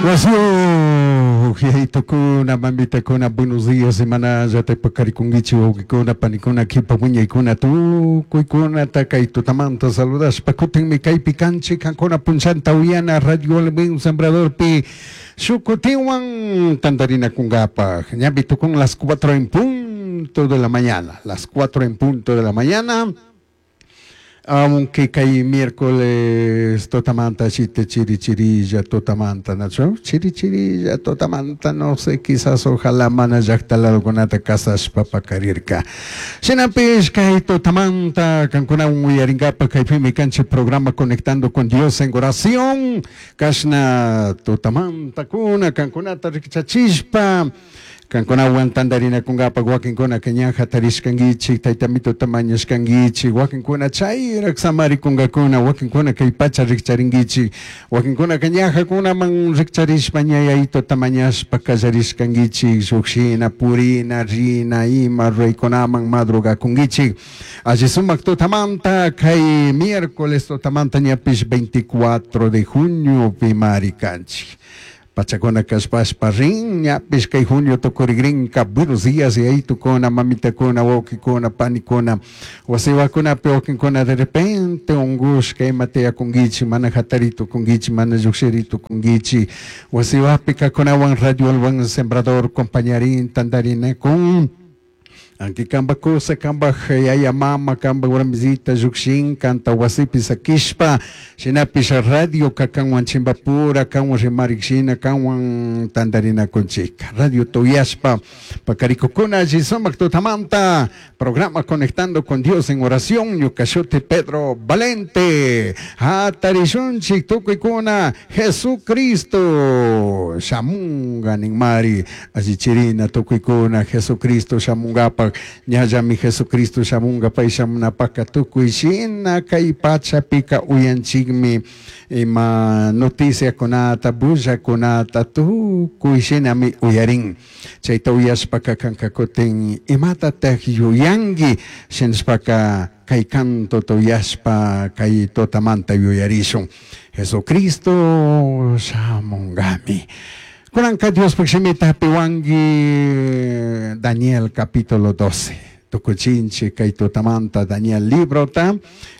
Wasiuq mamitakuna, buenos días, imanallataq paqarikunkichik wawqikuna, panikuna, qhipa wiñaykuna, tukuykunata kay tutamanta saludaspa kutinmi kaypi kanchik qankuna punchanta uyana Radio El Buen Sembradorpi shuk kutinwan tantarinakunkapaq. Ñapi tukun las 4 en punto de la mañana, las 4 en punto de la mañana. Aunque kay miércoles tutamanta chite chiri chirilla tutamanta nachu chiri chirilla tutamanta no sé quizás ojalá mana llaqta ladokunata kasashpa paqarirka. Shinapish kay tutamanta kankunawan uyarinkapaq kaypimi kanchik programa Conectando con Dios en oración kashna tutamantakuna kankunata rikchachishpa kankunawan tantarinakunkapaq wakinkunaka ña hatarishkankichik tayta mituta mañashkankichik wakinkuna chayraq samarikunkakuna wakinkuna kay pacha rikcharinkichik wakinkunaka ñajakunaman rikcharishpa ña yayituta mañashpa kallarishkankichik llukshina purina rina ima ruraykunaman madrugakunkichik alli sumak tutamanta kay miércoles tutamanta ñapish 24 de junio pimari kanchik pachakuna kashpashpa rin ñapish kay junio tukurikrinka. Buenos días yayitukuna mamitakuna wawqikuna panikuna wasiwakunapi wakinkuna de repente unkushka ima tiyakunkichik mana hatari tukunkichik mana llukshiri tukunkichik wasiwapi kakunawan Radio El Buen Sembrador compañarin tantarinakun Anki kamba kusa, kamba yaya mama, kamba warmisita llukshin, kanta wasipi sakishpa, shinapish radio ka kanwan chimbapura, kanwan rimarik shina, kanwan tantarinakunchika. Radio tuyashpa, pakarikukuna alli sumak tutamanta, programa Conectando con Dios en oración, ñuka shuti Pedro Valente, hatarishunchik tukuykuna, Jesucristo, shamunga ninmari, allichirina tukuykuna, Jesucristo shamungapak, ñallami Jesucristo shamunga pay shamunapaka tukuy shina kay pachapika uyanchikmi ima noticiakunata bullakunata tukuy shinami uyarin chayta uyashpaka kanka kutin imatataq yuyanki shinashpaka kay cantota uyashpa kay tutamanta yuyarishun Jesucristo shamungami. Kunanka Diospaq shimita hapiwanki Daniel capítulo 12. Tukuchinchik kay tutamanta Daniel librota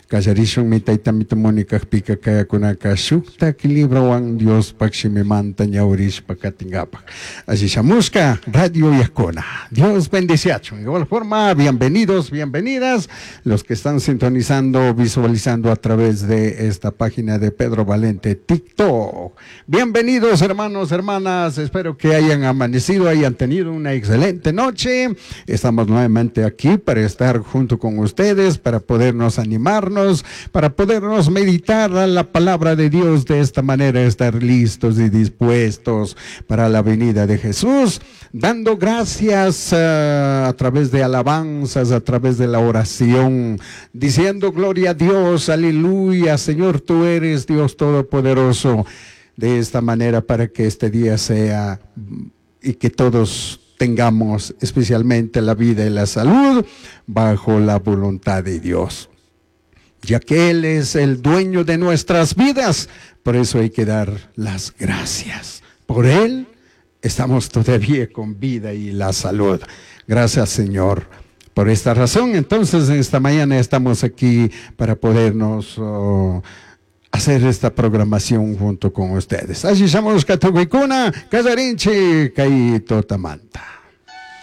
kallarishunmi tayta mitumuni kaqpika kayakunaka shuktak librowan Diospaq shimimanta ñawrishpa katinkapak. Alli shamushka Radio Yacona. Dios bendeciachun. De igual forma, bienvenidos, bienvenidas los que están sintonizando, visualizando a través de esta página de Pedro Valente TikTok. Bienvenidos hermanos, hermanas. Espero que hayan amanecido, hayan tenido una excelente noche. Estamos nuevamente aquí para estar junto con ustedes, para podernos animarnos, para podernos meditar a la palabra de Dios de esta manera, estar listos y dispuestos para la venida de Jesús, dando gracias a través de alabanzas, a través de la oración, diciendo gloria a Dios, aleluya, Señor, tú eres Dios Todopoderoso. De esta manera para que este día sea y que todos tengamos especialmente la vida y la salud bajo la voluntad de Dios. Ya que Él es el dueño de nuestras vidas, por eso hay que dar las gracias. Por Él estamos todavía con vida y la salud. Gracias, Señor, por esta razón. Entonces, en esta mañana estamos aquí para podernos hacer esta programación junto con ustedes. Allí somos Katukuykuna, Kallarinchik, kay tutamanta.